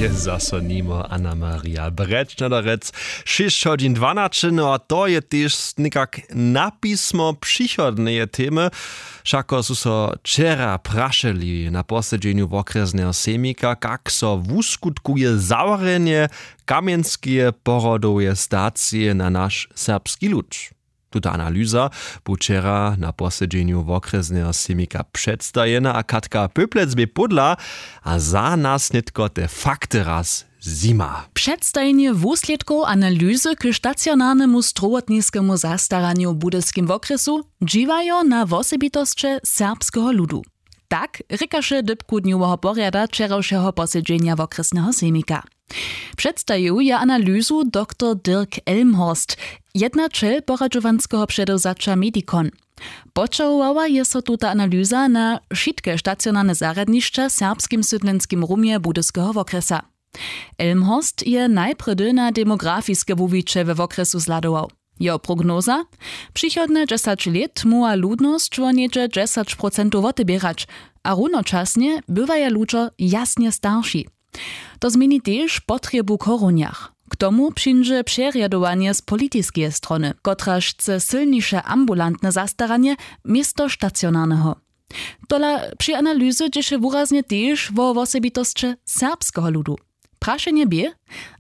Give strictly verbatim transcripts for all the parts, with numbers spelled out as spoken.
Je zaso nimo Anna Maria Brečnaderec. Šěsć hodźin dwanaće, no a to je tež někak na pismo přichodneje temy. Wšako su so wčera prašeli na posedźenju wokrjesneho sejmika, kak so wuskutkuje zawrjenje kamjenskeje porodoweje stacije na naš serbski lud. Tuta analyza bu wčera na posedźenju wokrjesneho sejmika předstajena a Katka Pyplec bě pódla a za nas nětko te fakty raz zjima. Předstajenje wuslědkow analyzy k stacionarnemu strowotniskemu zastaranju w budyskim wokrjesu dźiwajo na wosebitosće serbskeho ludu. Tak rěkaše dypku dnjoweho porjada wčerawšeho posedźenja wokrjesneho sejmika. Předstajił je analyzu doktor Dirk Elmhorst, jednaćel poradźowanskeho předewzaća Medikon. Poćahowała je so tuta analyza na wšitke stacionarne zarjadnišća w serbskim sydlenskim rumje budyskeho wokrjesa. Elmhorst je najprjedy na demografiske wuwiće we wokrjesu zhladował. Jeho prognoza: přichodne dźesać lět móhła ludnosć wo něhdźe dźesać procentow woteběrać, a runočasnje bywaja ludźo jasnje starši. To změni tež potrjebu w chorunjach. K tomu přińdźe přerjadowanje z politiskeje strony, kotraž chce sylniše ambulantne zastaranje město stacionarneho. Tola při analyzy dźěše wuraznje tež wo wosebitosće serbskeho ludu. Prašenje bě: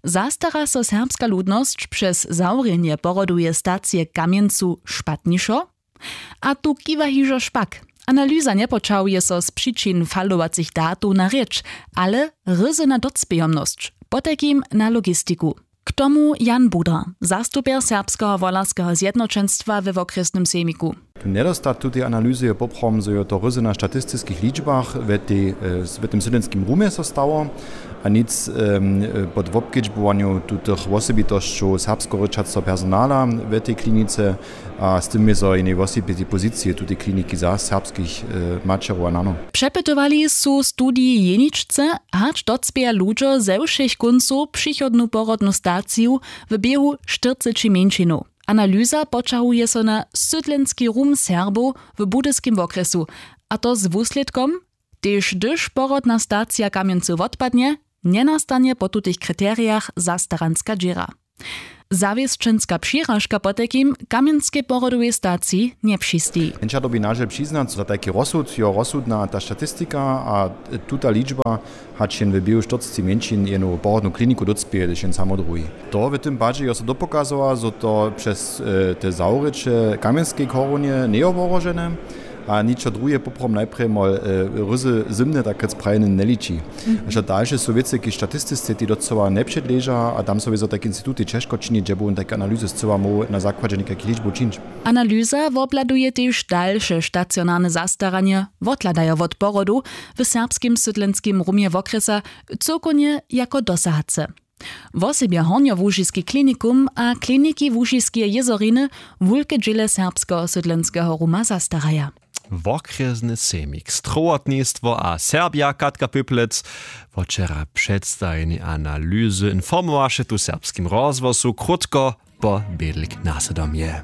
Zastara so serbska ludnosć přez zawrjenje porodoweje stacije w Kamjencu špatnišo? A tu kiwa hižo špak. Analyza njepoćahuje so z přičin falowacych datow na rěč, ale ryzy na docpějomnosć, potajkim na logistiku. K tomu Jan Budar, zastupjer Serbskeho wolarskeho zjednoćenstwa we wokrjesnym sejmiku. Njedostatk tutej analyzy je poprawom, zo je to ryzy na statistiskich ličbach w tej, w tym sydlenskim rumje so stało, a nic pod wobkedźbowanju tutych wosebitosćow serbskorěčaceho personala w tej klinice, a z tym je zo jenej wosebitej pozicije tutej kliniki za serbskich maćerow a nanow. Přepytowali su w studiji jeničce, hač docpěja ludźo ze wšěch kóncow přichodnu porodnu staciju w běhu štyrceći mjeńšinow. Analyza poćahuje so na sydlenski rum Serbow w budyskim wokrjesu, a to z wuslědkom: Tež hdyž porodna stacija w Kamjencu wotpadnje, njenastanje po tutych kriterijach zastaranska dźěra. Zawěsćenska přiražka potajkim w kamjenskej porodowej staciji njepřisteji. Jenča dyrbi nažel přiznać, zo tajki rozsud jo rozsudna ta statistika a tuta ličba, hač jen w běhu štyrceći mjeńšin jenu porodnu kliniku docpěje, hdyž jen samo druhi. To w tym padźe jo so dopokazowa, zo to přez te zawrěće w kamjenskej chorunje njejo wohrožene, a ničo druhe poprawom najprjemo ryzy zymne, tak rjec, prajene njeliči. Hižo dalše su wěcy k statistisce, tej docyła njepředleža, a tam so wězo tajki institutej ćežko čini, dźe bu wón tajke analyzy scyła móhł na zakładźe někajkich ličbow čińć. Analyza wobhladuje tež dalše stacionarne zastaranje, wothladajo wot porodow w serbskim sydlenskim rumje wokrjesa cyłkownje jako dosahace. Wosebje hornjołužiski klinikum a kliniki łužiskeje jězoriny wulke dźěle serbskeho sydlenskeho ruma zastaraja. Wokrjesny sejmik, strowotnistwo a Serbja Katka Pyplec. Wot wčera předstajeni analyzy informowaše tu w Serbskim rozhłosu krótko po bědlik nasydomje.